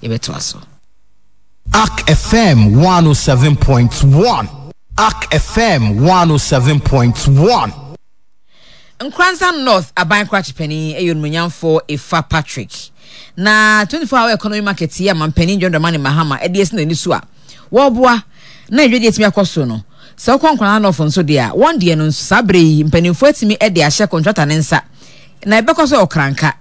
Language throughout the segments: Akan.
Yɛbɛtoa so. Ark FM 107.1 Ark FM 107.1. Nkoranza North aban krakye panin yɛ Onimonyamfoɔ Efa Patrick. Na 24 hour economy market yi a manpanin John Dramani Mahama de asi n'ani so a wɔreboa na adwadie atumi akɔ so no, sɛ wokɔ Nkoranza North nso deɛ a, wɔn deɛ no nso saa berɛ yi mpanimfoɔ atumi de ahyɛ kɔntrata no nsa na ɛbɛkɔ so wɔ Kranka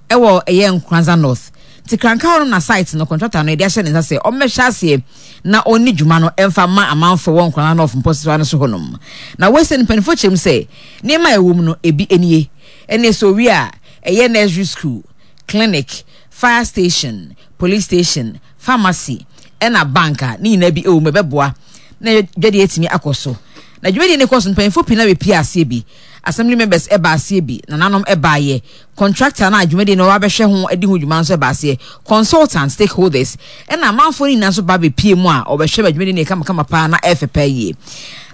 ɛwɔ ɛyɛ Nkoranza North. Nti Kranka hɔ no na site no kɔntrata no yɛde ahyɛ ne nsa sɛ ɔmmɛhyɛ aseɛ na ɔnni dwuma no mfa mma amanfoɔ wɔ Nkoranza North mpɔsoa no so hɔnom. Na wei sɛ no mpanimfoɔ kyerɛ mu sɛ nneɛma a ɛwɔ mu no ebi nie. Ɛne sɛ owie a ɛyɛ nursery school, clinic, fire station, police station, pharmacy ɛna bank a ne nyinaa bi ɛwɔ mu ɛbɛboa na dwadie atumi akɔ so. Na dwumadie no kɔ so mpanyinfoɔ pii na bɛpie aseɛ bi. Assembly members ɛba aseɛ bi, nananom ɛbaayɛ, contractor no a dwumadie no wabɛhwɛ ho adi ho dwuma nso ɛba aseɛ, consultant, stakeholders ɛna amanfoɔ no nyinaa nso ba bɛpie mu a ɔbɛhwɛ ma dwumadie no yɛ kamakama paa na ɛfɛ paa yie.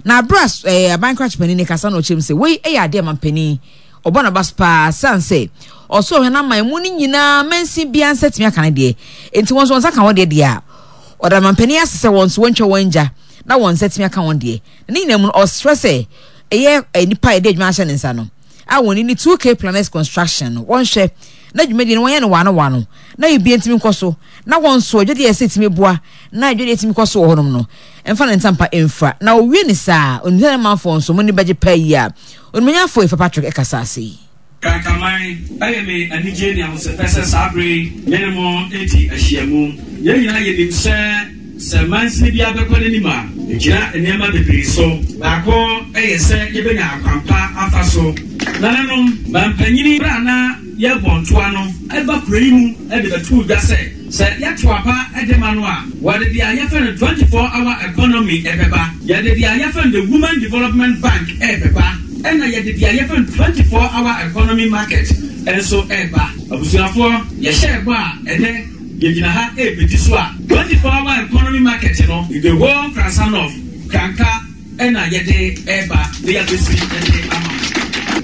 Na abere a ɛɛ aban krakye panin no kasa na ɔkyerɛ mu sɛ wei ɛyɛ adeɛ a mampanin Ɔbɔ n'aba so paa sane sɛ ɔsoro hɛn aman mu no nyinaa mansin biara nsa tumi aka ne deɛ. Enti wɔn nso wɔn nsa ka wɔn deɛ deɛ a, ɔda mampanin ase sɛ wɔn nso wɔntwa wɔn ngya na wɔn nsa atumi aka wɔn deɛ. Na ne nyinaa mu no, ɔsrɛ sɛ ɛyɛ nnipa a yɛde adwuma ahyɛ ne nsa no a wɔn ni 2K Planets Construction no, wɔnhwɛ na dwumadie no wɔnyɛ no wano wano na biribiara ntumi nkɔ so na wɔn nso adwadie a ɛsɛ tumi boa na adwadie tumi kɔ so wɔ hɔnom no mfa ne ntampa mfira. Na ɔwie ne saa a, onim sɛ ne manfoɔ nso mo ani bɛgye paa yie a Onimonyamfo Efa Patrick kasa ase yi. Kankaman, ɛyɛ me anigye ne ahosɛpɛ sɛ saa bere yi me ne mo redi ahyiamu. Yɛn nyinaa yenim sɛ sɛ mansini biara bɛkɔ n'anim a, egyina nneɛma bebree so. Baako yɛ sɛ yebenya akwampa afa so. Nananom, mampanyin bere a na yɛrebɔ ntoa no ba kurow yi mu de bɛtoo dwa sɛ, Sɛ yɛto aba de ma no a, wɔde deɛ yɛfrɛ no 24 hour economy bɛba, yɛde deɛ yɛfrɛ no the Women Development Bank rebɛba, ɛna yɛde deɛ yɛfrɛ no 24 hour economy market nso reba. Abusuafoɔ, yɛhyɛɛ bɔ a ɛnnɛ yɛgyina ha rebɛdi so a, 24 hour economy market no, the whole Nkrasah North, Kranka ɛna yɛde reba na yɛabɛsi de ama mo.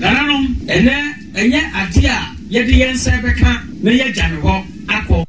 Nananom, ɛnnɛ ɛnyɛ adeɛ a yɛde yɛn nsa rebɛka na yɛagya no hɔ akɔ.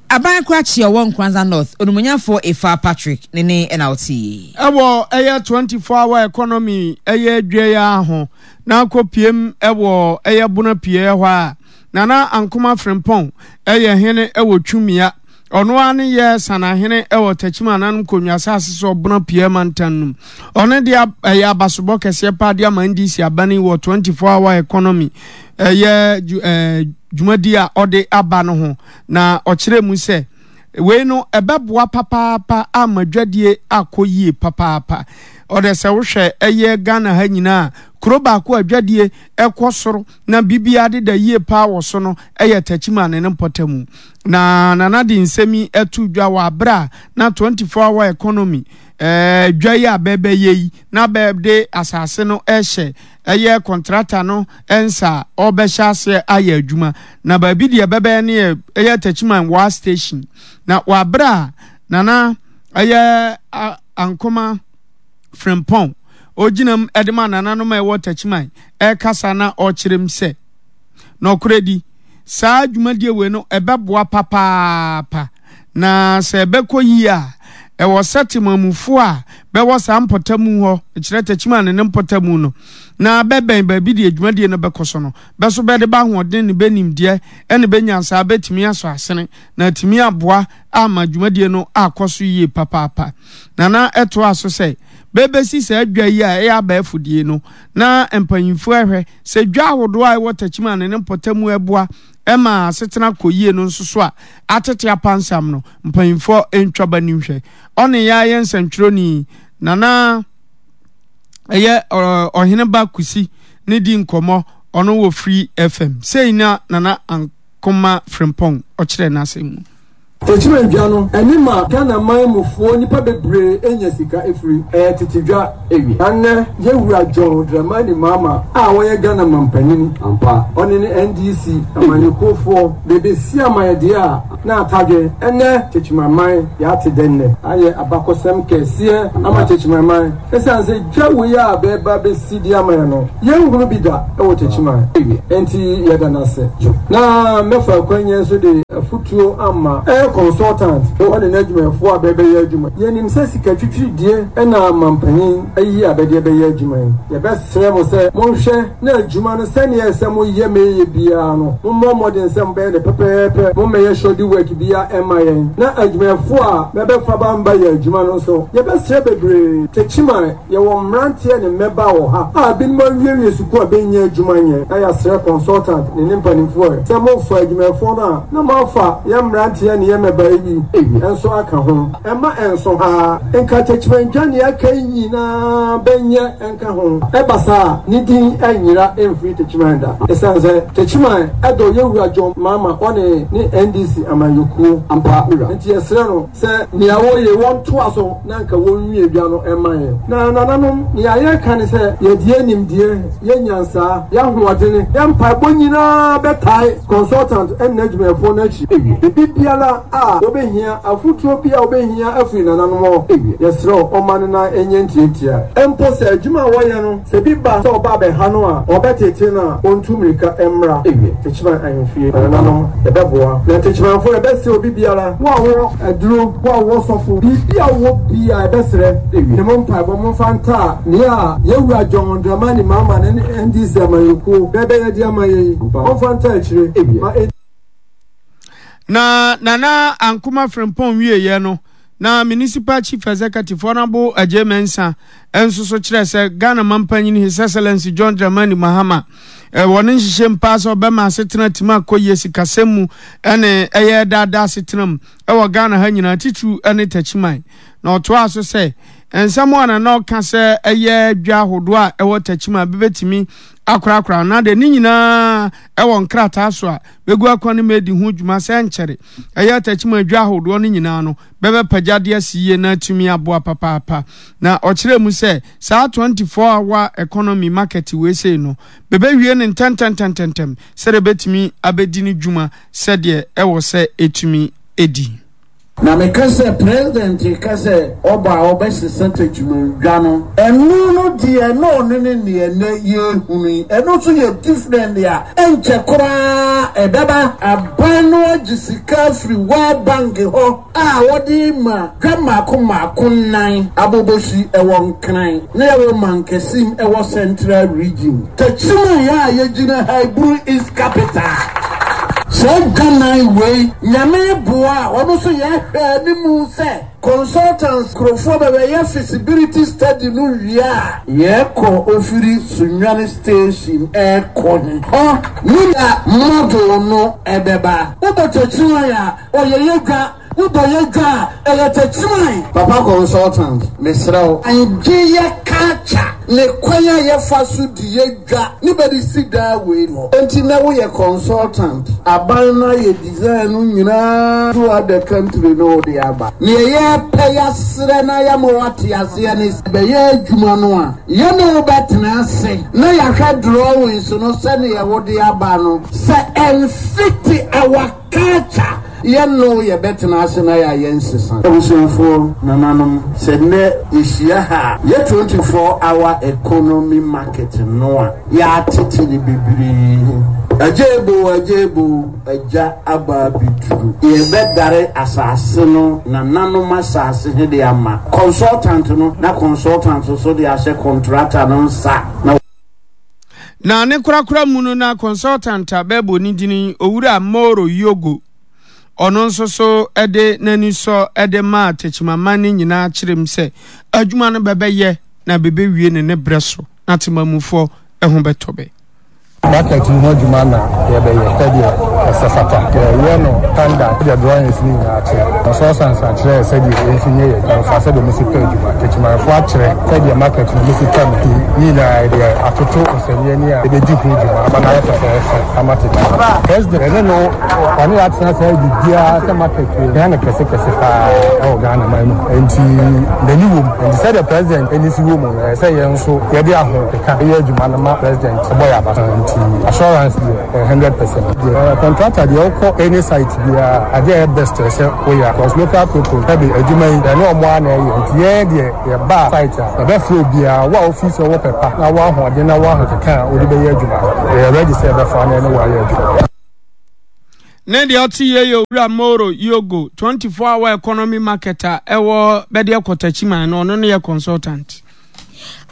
Aban Krakye a ɔwɔ Nkoranza North, Onimonyamfoɔ Efaa Patrick ne ne na ɔte yie. Ɛwɔ ɛyɛ 24 hour economy ɛyɛ dwa yi ara ho na akɔ piem ɛwɔ ɛyɛ bono pieɛ hɔ a Nana Ankoma Frimpong ɛyɛ hene ɛwɔ Twumia. Ɔno ara ne yɛ Sanahene wɔ Techiman Ananom Konwa asase so Ɔbono Apueɛ mantam no mu. Ɔno de ɛyɛ abasobɔ kɛseɛ paa de ama NDC aban yi wɔ 24 hour economy ɛyɛ dwumadi a ɔde aba no ho na ɔkyerɛ mu sɛ wei no ɛbɛboa papaapa ama dwadie akɔ yie papaapa. Ɔdɛ sɛ wohwɛ ɛyɛ Ghana ha nyinaa kuro baako a dwadie ɛkɔ soro na biribiara deda yie paa wɔ so no yɛ Techiman ne ne mpɔtamu. Na Nana de nsɛm yi too dwa wɔ abere a na 24 hour economy eh, dwa yi a bɛbɛyɛ yi na bɛde asase no hyɛ ɛyɛ kɔntrata no nsa a ɔrebɛhyɛ aseɛ ayɛ adwuma. Na baabi deɛ bɛbɛyɛ no yɛ ɛyɛ Techiman Waa Station. Na wɔ abere a Nana ɛyɛ Ankoma Frimpong, ogyina mu de ma nananom a ɛwɔ Techiman rekasa na ɔrekyerɛ mu sɛ, Nɔkorɛdi, saa dwumadie wei no ɛbɛboa papaapa, na sɛ ɛbɛkɔ yie a, ɛwɔ sɛ temamufoɔ a bɛwɔ saa mpɔtamu hɔ, mekyerɛ Techiman ne ne mpɔtamu no, na bɛbɛn baabi deɛ dwumadie no bɛkɔ so no, bɛ so bɛde bɛ ahoɔden ne bɛ nimdeɛ ne bɛ nyansaa bɛtumi asɔ asene na atumi aboa ama dwumadie no akɔ so yie papaapa. Nana toaa so sɛ, Bɛbɛsi saa dwa yi a ɛyɛ abɛɛfo die no na mpanyimfoɔ ɛhwɛ sɛ dwa ahodoɔ a ɛwɔ Techiman ne ne mpɔtamu ɛboa ma asetena kɔ yie no nso so a atete apansam no mpanyimfoɔ ntwa ba nim hwɛ. Ɔne yɛ ayɛ nsɛntwerɛni Nana ɛyɛ Ɔheneba Kusi ne di nkɔmmɔ ɔno wɔ Free FM. Sei na Nana Koma Frimpong ɔkyerɛɛ n'asɛm mu. Techiman dwa no ɛne ma Ghana man mu foɔ nipa bebree nya sika ɛfiri. Ɛyɛ tete dwa ɛwie. Na nnɛ yɛ wura John Dramani Mahama a ɔyɛ Ghana mampanin ampa ɔne ne NDC amanyɔkuo foɔ bɛbɛsi ama yɛ deɛ a na atadwe ɛnnɛ Techiman man yɛate dɛ nnɛ. Ayɛ abakɔsɛm kɛseɛ ama Techiman man ɛsiane sɛ dwa wei a bɛɛba bɛsi de ama yɛ no yɛnhunu bi da ɛwɔ Techiman ɛnti yɛda no ase. Na mɛfa akwanya yi so de. afutuo ama ɛyɛ consultant ɔne n'adwumayɛfoɔ a bɛbɛyɛ adwuma. Yɛnim sɛ sika twitwiridie na mampanyin ayi a bɛde bɛyɛ adwuma yi. Yɛbɛsrɛ mo sɛ monhwɛ na adwuma no sɛdeɛ ɛsɛ moyɛ ma ɛyɛ biara no, mommɔ mmɔden sɛ mobɛyɛ no pɛpɛɛpɛ, mommɛyɛ shoddy work biara mma yɛn. Na adwumayɛfoɔ a bɛbɛfa ba mba yɛ adwuma no nso, yɛbɛsrɛ bebree. Techiman, yɛwɔ mmeranteɛ ne mmɛbaa wɔ ha a binom awiewie sukuu a bɛnnya adwuma nyɛ, na yɛasrɛ consultant ne ne mpanimfoɔ sɛ mofa adwumayɛfoɔ no a, na moafa yɛn mmeranteɛ ne yɛn mmɛbaa yi bi nso aka ho. Ɛmma ɛnso ha. Nka Techiman dwa nea aka yi nyinaa bɛnyɛ nka ho. Ɛba saa a, ne din renyera mfiri Techiman da. Esiane sɛ Techiman dɔ Yɛwura John Mahama ɔne ne NDC amanyɔkuo ampa wura nti yɛsrɛ no sɛ nea ɔreyɛ yi wɔntoa so na nka wɔnwie dwa no mma yɛn. Na nananom, nea yɛreka ne sɛ yɛde yɛn nimdeɛ, yɛn nyansaa, yɛn ahoɔdene, yɛn mpaebɔ nyinaa bɛtae consultant ne n'adwumayɛfoɔ no akyi. Biribi biara a wɔbɛhia, afotuo biara a wɔbɛhia afiri nananom hɔ, yɛsrɛ wo, ɔmma no nan nyɛ ntiantia. Mpo sɛ adwuma a wɔyɛ no, sɛ bi ba sɛ ɔba abɛha no a, ɔbɛtete no a, ɔntu mmirika mmra Techiman ahemfie. Na nananom, yɛbɛboa. Na Techimanfoɔ, yɛbɛsrɛ obi biara, wo a wowɔ aduro, wo a wowɔ sɔfo, biribi a wowɔ biara, yɛbɛsrɛ ne mo mpaebɔ, momfa ntaa nea Yɛn Wura John Dramani Mahama ne ne NDC amanyɔkuo bɛbɛyɛ de ama yɛn yi, momfa ntaa akyire ma ɛnni. Na Nana Ankoma Frimpong wieeɛ no, na Municipal Chief Executive Honourable Adjei Mensah nso so kyerɛɛ sɛ Ghana Mampanyin His Excellency John Dramani Mahama wɔ ne nhyehyɛm paa sɛ ɔbɛma asetena atumi akɔ yie sikasɛm mu ne ɛyɛ daadaa asetena mu wɔ Ghana ha nyinaa titiriw ne Takyiman. Na ɔtoaa so sɛ nsɛm a na ɔka sɛ ɛyɛ dwa ahodoɔ a ɛwɔ Takyiman bɛbɛtumi akorakora anaa deɛ ne nyinaa ɛwɔ nkrataa so a bɛgu akwan no mu adi ho dwuma sɛ ɛnkyɛre ɛyɛ atakyim adwa ahodoɔ no nyinaa no bɛbɛpagya de asi yie na atumi aboa papaapa. Na ɔkyerɛɛ mu sɛ saa 24 hour economy market wei sei no bɛbɛwie no ntɛntɛntɛntɛntɛm sɛdeɛ ɛbɛtumi abɛdi ne dwuma sɛdeɛ ɛwɔ sɛ ɛtumi di. Na meka sɛ president reka sɛ ɔba a ɔbɛsesa tɛkyimandwa no, ɛno no deɛ na ɔno ne neɛ nnɛ yɛrehunu yi, ɛno nso yɛ different a ɛnkyɛ koraa ɛbɛba. Aban no agye sika afiri World Bank hɔ a wɔde rema dwa mmaako mmaako nnan, Abobosi ɛwɔ Nkran na yɛwɔ Mankasim ɛwɔ Central Region. Techiman a yɛgyina ha yi, Buru East Capital. Saa dwaman wei, Nyame boa a, ɔno nso yɛhwɛ animu sɛ consultants nkurofoɔ bɛbɛyɛ feasibility study no wie a, yɛkɔ ofiri Sunyani station ɛkɔ he hɔ ne na model no ɛbɛba. Wobɔ Techiman a, ɔyɛ yɛ dwa. Wobɔ yɛ dwa a, ɛyɛ tɛkyiman. Papa consultant, mesrɛ wo, ngye yɛ culture ne kwan a yɛfa so di yɛ dwa ne bɛde si daa wei hɔ. Enti nɛ woyɛ consultant, aban no ayɛ design no nyinaa throughout the country ne wode aba. Neɛ yɛpɛ yɛasrɛ na yɛama woate aseɛ ne sɛ, bɛyɛ adwuma no a, yɛne wo bɛtena ase na yɛahwɛ drawings no sɛdeɛ wode aba no, sɛ ɛnfiti our Culture, yɛ no yɛ bɛ tena ase na yɛ ayɛ nsesa. Abusuafoɔ, nananom, sɛ nnɛ yɛ hyia ha a, yɛ 24 hour economy market no a yɛ atete no bebree ho. Agya Ebo, Agya Ebo, Agya aba abɛduru. Yɛ bɛ dare asase no, nananom asase he de ama consultant no, na consultant nso de ahyɛ contractor no nsa na. Na ne korakora mu no na consultant a bɛbɔ ne dini Owura Moro Yogo, ɔno nso so de n'anisɔ de maa Techimaman no nyinaa kyerɛ mu sɛ adwuma no bɛbɛyɛ na bɛbɛwie no ne berɛ so na temamufoɔ ho bɛtɔ bɛ. Market no ho adwuma na yɛbɛyɛ sɛdeɛ ɛsɛ fata. Yɛyɛ no standard sɛdeɛ drawings no nyinaa kyerɛ. Consultants akyerɛ sɛdeɛ yɛnsi nyɛ yɛn adwuma fa sɛdeɛ wɔsi pɛ adwuma. Techimanfoɔ akyerɛ sɛdeɛ market no wɔsi pɛ no. Nti ne nyinaa yɛde atoto nsɛnniɛ ni a yɛbɛdi ho dwuma ama no ayɛ fɛfɛɛfɛ ama Techiman. President yɛne no ɔne yɛn atena ase ayɛ biribiara sɛ market wei hia no kɛse kɛse paa wɔ Ghana man mu. Nti n'ani wɔ mu. Nti sɛdeɛ president ani si wɔ mu no ɛsɛ sɛ yɛn nso yɛde ahokeka yɛ adwuma no ma president bɔ yɛn aba so. Nti assurance deɛ ɛyɛ 100%. Deɛ contractor deɛ wokɔ any site biara adeɛ a ɛyɛ best ɛsɛ woyɛ because local people ɛde adwuma yi ɛne ɔmo ara na ɛyɛ nti yɛn deɛ yɛba site a yɛbɛfrɛ obiara wo a wofi sɛ wɔ pɛ pa na wɔ ahoɔden na wɔ ahokeka a wode bɛyɛ adwuma no yɛyɛ ready sɛ yɛbɛfa na ɛne wo ayɛ adwuma. Ne deɛ ɔte yie yɛ Owura Moro Yogo, 24 hour economy market a ɛwɔ Bɛdeɛ Kɔtakyiman no, ɔno ne yɛ consultant.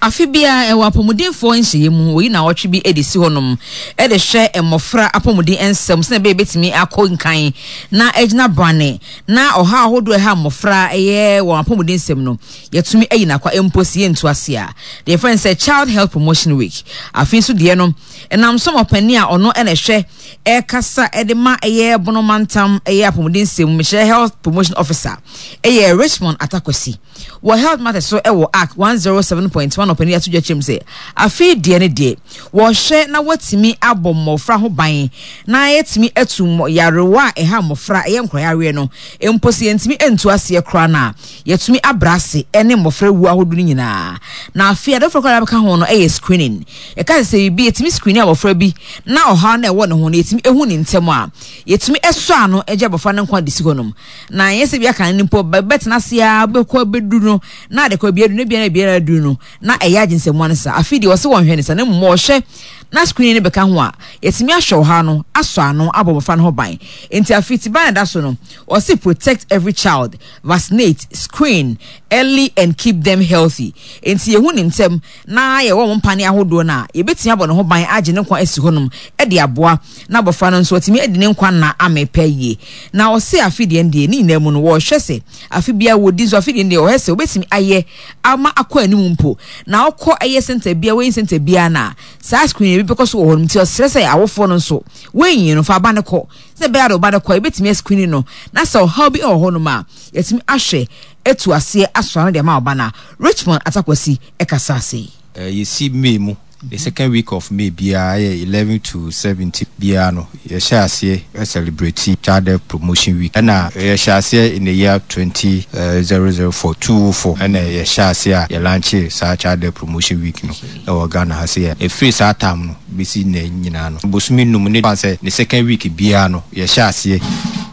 Afe biara, ɛwɔ apɔmudenfoɔ nhyehyɛeɛ mu, wɔyi nnawɔtwe bi de si hɔnom de hwɛ mmɔfra apɔmuden nsɛm sɛdeɛ ɛbɛyɛ bɛtumi akɔ nkan na agyina brane na ɔhaw ahodoɔ a ɛha mmɔfra ɛyɛ wɔn apɔmuden nsɛm no yɛtumi ayi no akwa mpo sɛ yɛntu ase a. Deɛ yɛfrɛ no sɛ Child Health Promotion Week. Afe nso deɛ no, ɛnam so ma ɔpanin a ɔno na ɛhwɛ ɛrekasa de ma ɛyɛ Bono mantam ɛyɛ apɔmuden nsɛm mu, mekyerɛ Health Promotion Officer ɛyɛ Richmond Atakwasi. Wɔ Health Matters so wɔ Ark 107.1 ɔpanin ato dwa kyerɛ mu sɛ afei deɛ ne deɛ wɔhwɛ na wɔatumi abɔ mmɔfra ho ban na yɛatumi atu yarewa a ɛha mmɔfra ɛyɛ nkorayareɛ no mpo sɛ yɛntumi ntu aseɛ koraa no a yɛatumi abrɛ ase ne mmɔfra wuo ahodoɔ no nyinaa. Na afei adeɛ foforɔ koraa a bɛka ho no yɛ screening. Yɛka sɛ sɛ biribi yɛtumi screen abɔfra bi na ɔhaw no a ɛwɔ ne ho no yɛtumi ehu ne ntɛm a yɛtumi sɔ ano gye abɔfra no nkwa de si hɔnom. Na ɛnyɛ sɛ bia kan no mpo bɛtena ase ara bɛkɔ abɛduru no na ade kɔ bia du na bia na bia aduru no na ɛyɛ agyensamoa no saa. Afei deɛ ɔse wɔnhwɛ ne saa na mmom ɔhwɛ na screening no bɛka ho a yɛtumi ahwɛ ɔhaw no asɔ ano abɔ mmɔfra no ho ban. Nti afei tiban a ɛda so no ɔse protect every child, vaccinate, screen early and keep them healthy. Nti yɛhu ne ntɛm na yɛwɔ wɔn mpaneɛ ahodoɔ no a, yɛbɛtumi abɔ ne ho ban agye ne nkwa asi hɔnom de aboa na abɔfra no nso watumi adi ne nkwa nna amee pɛ yie. Na ɔse afe deɛ deɛ ne nyinaa mu no wɔrehwɛ sɛ afe biara wɔdi nso afe deɛ deɛ wɔhwɛ sɛ wɔbɛtumi ayɛ ama akɔ anim mpo na ɔkɔ ɛyɛ center biara wɔyi center biara no a saa screening bi bɛkɔ so wɔ hɔ nom nti ɔsrɛ sɛ awofoɔ no nso wɔnyi no fa aba no kɔ sɛ ɛbɛyɛ a de ɔba no kɔ a yɛbɛtumi ascreening no na sɛ ɔhaw bi wɔ hɔ nom a yɛatumi ahwɛ atu aseɛ asɔ ano de ama ɔba no a Richmond Atakwasi kasaa sei. Yɛsi May mu, the second week of May biara ɛyɛ 11 to 17 biara no yɛhyɛ aseɛ celebrate Child Health Promotion Week ɛna yɛhyɛ aseɛ in the year 2004, 204 ɛna yɛhyɛ aseɛ a yɛ launche saa Child Health Promotion Week no ɛwɔ Ghana ha sei a ɛfiri saa time no bɛsi nnɛ nyinaa no bosome num ne fa sɛ ne second week biara no yɛhyɛ aseɛ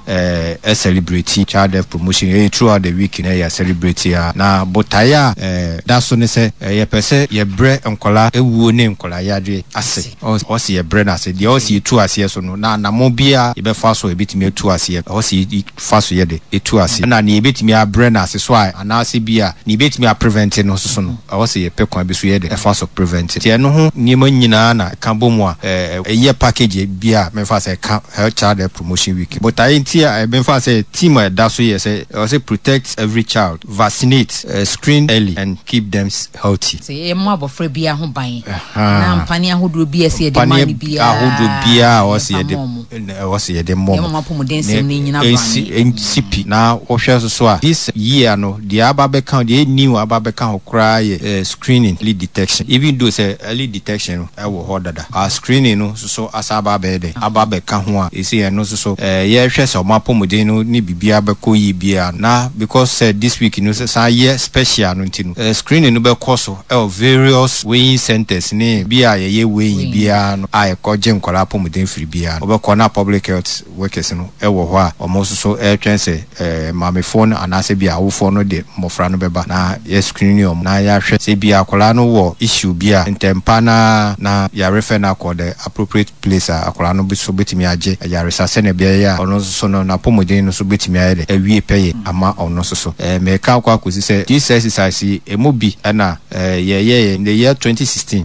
ɛ celebrate child health promotion ɛyɛ throughout the week na yɛ celebrate a na botaeɛ a ɛda so ne sɛ yɛpɛ sɛ yɛbrɛ nkwadaa awuo ne nkwadaa yadeɛ ase ɔwɔ sɛ yɛbrɛ no ase deɛ ɔwɔ sɛ yɛtu aseɛ so no na anammɔn biara yɛbɛfa so a yɛbɛtumi atu aseɛ ɛwɔ sɛ yɛfa so yɛde ɛtu aseɛ ɛna nea yɛbɛtumi abrɛ no ase so a anaasɛ bi a nea yɛbɛtumi aprevent no nso so no ɛwɔ sɛ yɛpɛ kwan bi so yɛde ɛfa so prevent nti ɛno ho nneɛma nyinaa na ɛka bɔ mu a ɛyɛ package bi a memfa sɛ ɛka Health Child Health Promotion Week. Botaeɛ nti a memfa sɛ theme a ɛda so yɛ sɛ ɛwɔ sɛ protect every child, vaccinate, screen early and keep them healthy. Sɛ yɛmmɔ abɔfra biara ho ban na mpaneɛ ahodoɔ biara ɛsɛ yɛde ma no Mpaneɛ biara ahodoɔ biara a ɛwɔ sɛ yɛmfa yɛde mmɔ wɔn. ɛwɔ sɛ yɛde mmɔ Yɛma wɔn. wɔn apɔmuden nsɛm no nnyina Na ɛnsi brane. ɛnsi pi. Na wohwɛ nso so a this year no deɛ aba abɛka ho deɛ ɛyɛ new aba abɛka ho koraa yɛ screening, early detection. Even though sɛ early detection no ɛwɔ hɔ dada but screening no nso so asan aba abɛyɛ dɛn aba abɛka ho a seesei ɛno nso so yɛrehwɛ sɛ wɔn apɔmuden no ne biribiara bɛkɔ yie biara na because sɛ this week no san yɛ special no nti no screening no bɛkɔ so wɔ various weighing centres ne bi a yɛyɛ weighing biara no a yɛkɔgye nkwadaa apɔmuden firi biara no wobɛkɔ na public health workers no wɔ hɔ a wɔn nso so retwɛn sɛ maamefoɔ no anaasɛ bi a awofoɔ no de mmɔfra no bɛba na yɛ screen wɔn na yɛahwɛ sɛ bi a akwadaa no wɔ issue bi a ntɛmpa no ara na yɛarefɛ no akɔ the appropriate place a akwadaa no so bɛtumi agye ayaresa sɛdeɛ ɛbɛyɛ a ɔno nso so no n'apɔmuden no nso bɛtumi ayɛ dɛ awie pɛyɛ ama ɔno nso so. Mereka akɔ akɔsi sɛ this exercise yi ɛmu bi na yɛyɛeɛ in the year 2016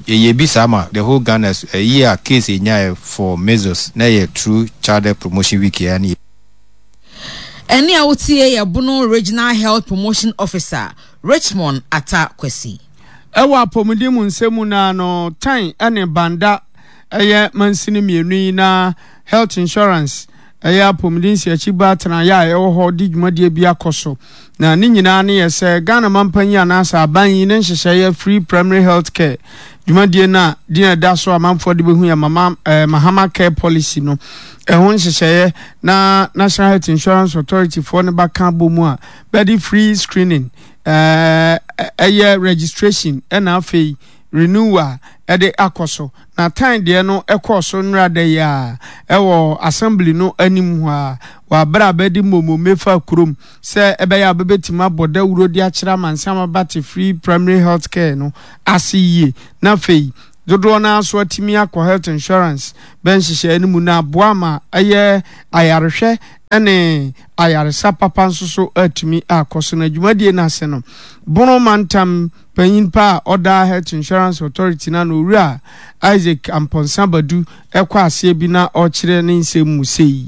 yɛyɛɛ bi saa ma the whole Ghana year a case yɛnyaeɛ for measles na ɛyɛ through child health promotion week yi ara ne. Ɛnne a wotie yɛ Bono Regional Health Promotion Officer Richmond Atta Kwasi. Ɛwɔ apɔmuden mu nsɛm mu no ara no, Tan ne Banda yɛ mansini mmienu yi na Health Insurance ɛyɛ apɔmuden nsiakyiba atenaeɛ a ɛwɔ hɔ de dwumadie bi akɔ so. Na ne nyinaa ne yɛ sɛ Ghana mampanyin anaasɛ aban yi ne nhyehyɛeɛ Free Primary Health Care dwumadie no a din a ɛda so amanfoɔ de bɛhu yɛ Mama eh, Mahama Care Policy no ɛho nhyehyɛeɛ na National Health Insurance Authority foɔ no bɛka abɔ mu a bɛde free screening eh, ɛyɛ registration ɛna afei renewal ɛde akɔ so. Na tan deɛ no ɛkɔɔ so nnora da yi a ɛwɔ assembly no anim hɔ a wɔ abere a bɛde mmomome fa kurom sɛ ɛbɛyɛ a bɛbɛtumi abɔ dawuro de akyerɛ amansan abate free primary health care no ase yie. Na afei. dodoɔ no ara nso atumi akɔ health insurance bɛ nhyehyɛeɛ no mu na aboa ama ɛyɛ ayarehwɛ ne ayaresa papa nso so atumi akɔ so. Na dwumadie no ase no, Bono mantam panyin pa a ɔda Health Insurance Authority no ano, Owura Isaac Amponsah Badu kɔ aseɛ bi na ɔrekyerɛ ne nsɛm mu sei.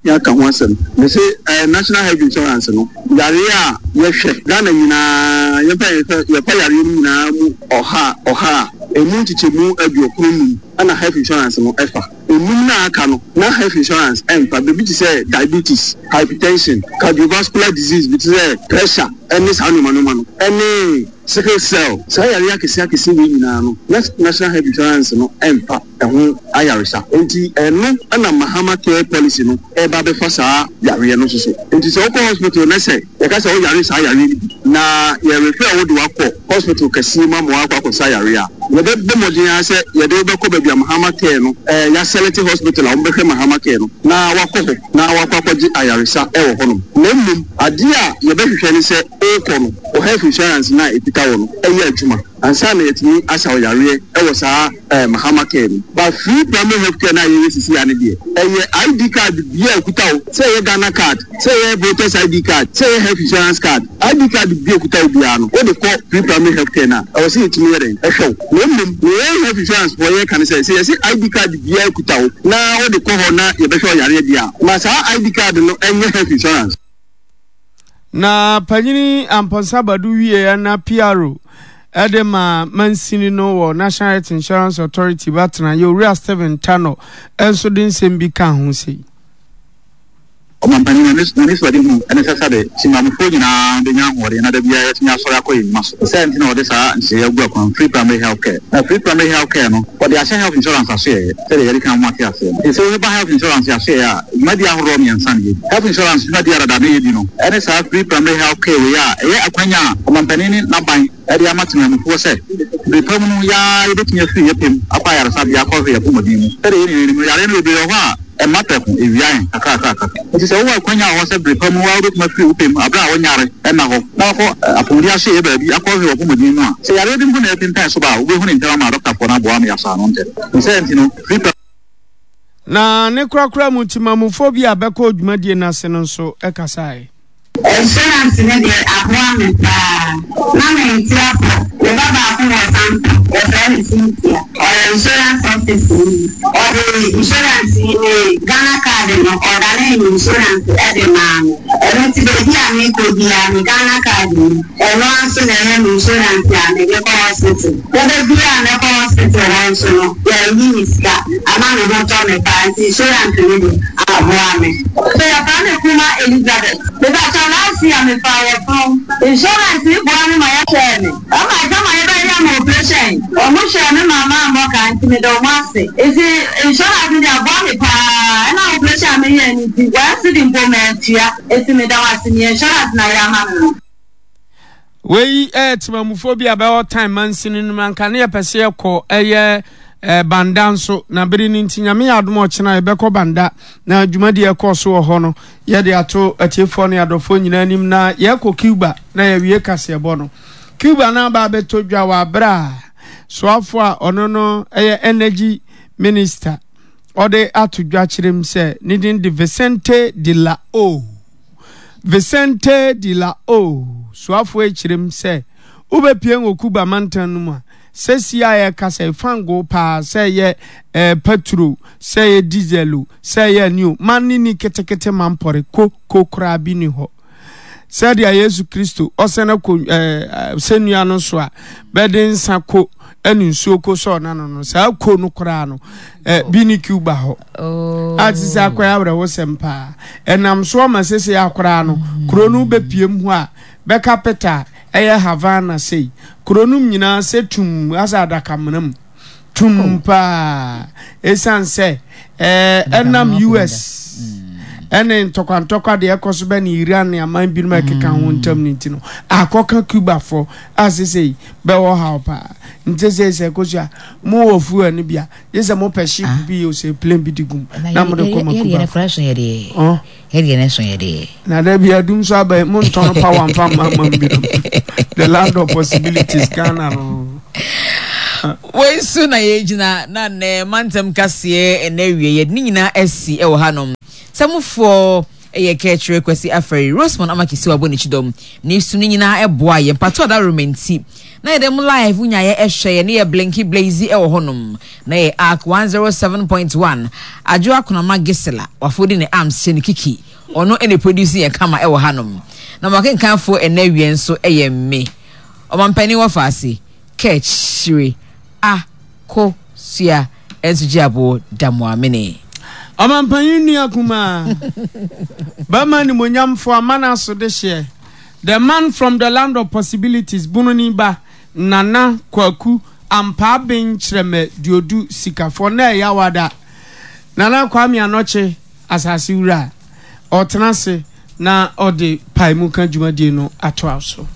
Yɛaka ho asɛm. Mese ɛɛ National Health Insurance no, yareɛ a yɛhwɛ Ghana nyinaa, yɛmfa yɛn sɛ yɛfa yareɛ no nyinaa mu ɔha ɔha a, ɛmu nkyekyɛmu aduokron num ɛna health insurance no ɛfa. Enum no a aka no, na health insurance ɛmfa. Biribi te sɛ diabetes, hypertension, cardiovascular disease bi te sɛ pressure ɛne saa nnoɔma nnoɔma no, ɛne sickle cell, saa yareɛ akɛseɛ akɛseɛ wei nyinaa no, na National Health Insurance no ɛmfa. ɛho ayaresa. Enti ɛno na Mahama Care Policy no reba abɛfa saa yareɛ no nso so. Enti sɛ wokɔ hospital na sɛ yɛka sɛ woyare saa yareɛ no bi na yɛ refer wo de wo akɔ hospital kɛseɛ mu ama woakɔ akɔsa yareɛ a, yɛbɛbɔ mmɔden ara sɛ yɛde wo bɛkɔ baabi a Mahama Care no yɛasɛlɛte hospital a wɔbɛhwɛ Mahama Care no na woakɔ hɔ na woakɔ akɔgye ayaresa wɔ hɔnom. Na mmom adeɛ a yɛbɛhwehwɛ ne sɛ worekɔ no, wo health insurance no a ɛkita wo no yɛ adwuma ansa na yɛatumi asa wo yareɛ wɔ saa Mahama care no. But free primary health care no a yɛyɛ sisi a no deɛ, ɛyɛ ID card biaa a ɛkuta wo, sɛ ɛyɛ Ghana card, sɛ ɛyɛ voters ID card, sɛ ɛyɛ health insurance card, ID card biaa a ɛkuta wo biaa no, wode kɔ free primary health care no a, ɛwɔ sɛ yɛtumi yɛ dɛn? Ɛhwɛ wo. Na mmom, nea yɛn health insurance foɔ yɛka ne sɛ, sɛ yɛse ID card biaa kuta wo na wode kɔ hɔ na yɛbɛhwɛ wo yareɛ deɛ a, ma saa ID card no nyɛ health insurance. Na Panyini Amponsah Badu wieɛ na PRO de ma mansini no wɔ National Health Insurance Authority ba tenaeɛ Owura Stephen Tanor nso de nsɛm bi kaa ho sei. Ɔmanpanin, n'anisoadehu ne sɛ sɛde Zimbabwefoɔ nyinaa bɛnya ahoɔden na da biara yɛatumi asɔre akɔ yɛn nnwuma so. Ne saa nti na wɔde saa nhyehyɛeɛ agu akwan, Free Primary Health Care. Na Free Primary Health Care no, wɔde ahyɛ Health Insurance asoɛeɛ, sɛdeɛ yɛadi kan ama moate aseɛ no. Nti sɛ woba Health Insurance asoɛeɛ a, dwumadie ahoroɔ mmiɛnsa na yɛdi. Health Insurance dwumadie a dada na yɛdi no ne saa Free Primary Health Care wei a ɛyɛ akwanya a Ɔmanpanin ne n'aban de ama temanmufoɔ sɛ bere pa mu no yɛn ara yɛbɛtumi afiri yɛn pɛ mu akɔ ayaresabea akɔhwɛ yɛn apɔmuden mu. Sɛdeɛ yɛn nyinaa nim no, yareɛ no bebree wɔ hɔ a ɛmma prɛko, ɛwia yɛn kakrakrakra. Enti sɛ wowɔ akwanya wɔ hɔ sɛ bere pa mu wo ara wobɛtumi afiri wo pɛ mu berɛ a wonyare nna hɔ na wakɔ apɔmuden asoɛeɛ baabi akɔhwɛ w'apɔmuden mu a, sɛ yareɛ bi mpo na ɛrepempɛn so ba a, wobɛhu no ntɛm ama adɔktafoɔ no aboa ama yɛasɔ ano ntɛm. Ne saa nti no, free primary. Na ne korakora mu, Temamufoɔ bi a bɛkɔɔ dwumadie no ase no nso kasaeɛ. Insurance no deɛ aboa me paa. Na mente apɔ. Me ba baako wɔ Sampa, yɛfrɛ no Cynthia. Ɔyɛ insurance office ni. Ɔde insurance yi me Ghana card no, ɔdanee me insurance de maa me. Ɛno nti baabi a mekɔ biara me Ghana card ni. Ɛno ara nso na ɛyɛ me insurance a mede kɔ hospital. Da biara a mɛkɔ hospital hɔ nso no, yɛayi me sika ama me ho tɔ me paa nti insurance no deɛ aboa me. So yɛfrɛ me Kuma Elizabeth. Mepakyɛw last year mefaa yɛfunu. Insurance yi boa me ma yɛhwɛɛ me. Ɔma adwuma yɛbɛyɛ me operation. Ɔmo hwɛɛ me ma mammɔ ka nti meda ɔmo ase. Nti insurance no deɛ aboa me paa. Ɛna operation a meyɛɛ no nti one cedi mpo mantua. Nti meda wo ase nea insurance no ayɛ ama me no. Wei ɛyɛ temamufoɔ bi a bɛwɔ tan mansini no mu anka ne yɛpɛ sɛ yɛkɔ ɛyɛ eh, banda nso na bere no nti nyame yɛ adom ɔkyena yɛbɛkɔ banda na dwumadi ɛkɔɔ so wɔ hɔ no yɛde ato atiefoɔ ne adɔfoɔ nyinaa anim na yɛkɔ Cuba na yɛwie kaseɛbɔ no Cuba no aba abɛtɔ dwa wɔ aberɛ a soafoɔ a ɔno no ɛyɛ energy minister ɔde ato dwa kyerɛm sɛ ne din de Vicente de la O Vicente de la O soafoɔ yi kyerɛm sɛ wobɛpue wɔ Cuba mantam no mu a, sɛsi a yɛrekasa yi, fangoo paa, sɛ ɛyɛ eh, paturo, sɛ ɛyɛ diesel o, sɛ ɛyɛ ani o, ma ne ni ketekete ma mpɔre ko ko koraa bi ni hɔ. Sɛdeɛ Yesu Kristo ɔsɛn akɔ eh, sɛnnua no so a bɛde nsa ko ne nsuo ko sɔɔ n'ano no, saa ko no koraa no eh, bi ne Cuba hɔ. Oh. A te sɛ akɔyɛ awerɛhosɛm paa. Ɛnam so ama sese akoraa no, kuro no bɛpiem hɔ a, bɛka peta a ɛyɛ Havana sei. Kuro no nyinaa sɛ tum asɛ adakamena mu. Tum oh. paa. Ɛsiane sɛ ɛnam US ɛne ntɔkwantɔkwa deɛ ɛkɔ so bɛ ne Iran ne aman binom a ɛkeka ho ntam no nti no, akɔka Cubafoɔ a sesei bɛwɔ haw paa. Nti sɛ sɛ kosua mowɔ fuel no bi a, gye sɛ mopɛ ship ah. bi o sɛ plane bi de gum na mode kɔ ma Cuba. Na da bi adum so aba montɔn power mfa mma ma binom. The land of possibilities Ghana no. Wei so na yɛgyina na nnɛ mantam kaseɛ ɛnɛ awie yɛde ne nyinaa asi wɔ hanom. Sɛ mofoɔ yɛ Kɛkyerɛ Kwasi Afari, Rosemond Amakisi wabɔ ne kyidɔm ne su no nyinaa ɛboa yɛn mpato adaworoma nti na yɛde mo live wonya yɛ ɛhwɛ yɛ ne yɛ blinky blazy ɛwɔ hɔnom na yɛ arc 107.1 Adwo Akonama Gisela wafodi ne arms hyɛ ne kiki ɔno ɛna produce yɛn kama ɛwɔ hanom na mo akenkanfoɔ ɛnɛ awie nso ɛyɛ me Ɔmampanin wɔfa ase Kɛkyire a ko sua nso gye aboɔ da mo amene. Ɔmampanyin nua kumaa, barima animuonyamfoɔ amana so dehyeɛ, the man from the land of possibilities, Bununi ba, Nana Kwaku Ampaa-Ben Kyerɛmɛ Duodu Sikafoɔ na ɛyɛ awada. Nana Kwame Anɔkye, asase wura, ɔtena ase na ɔde paemuka dwumadie no atoa so.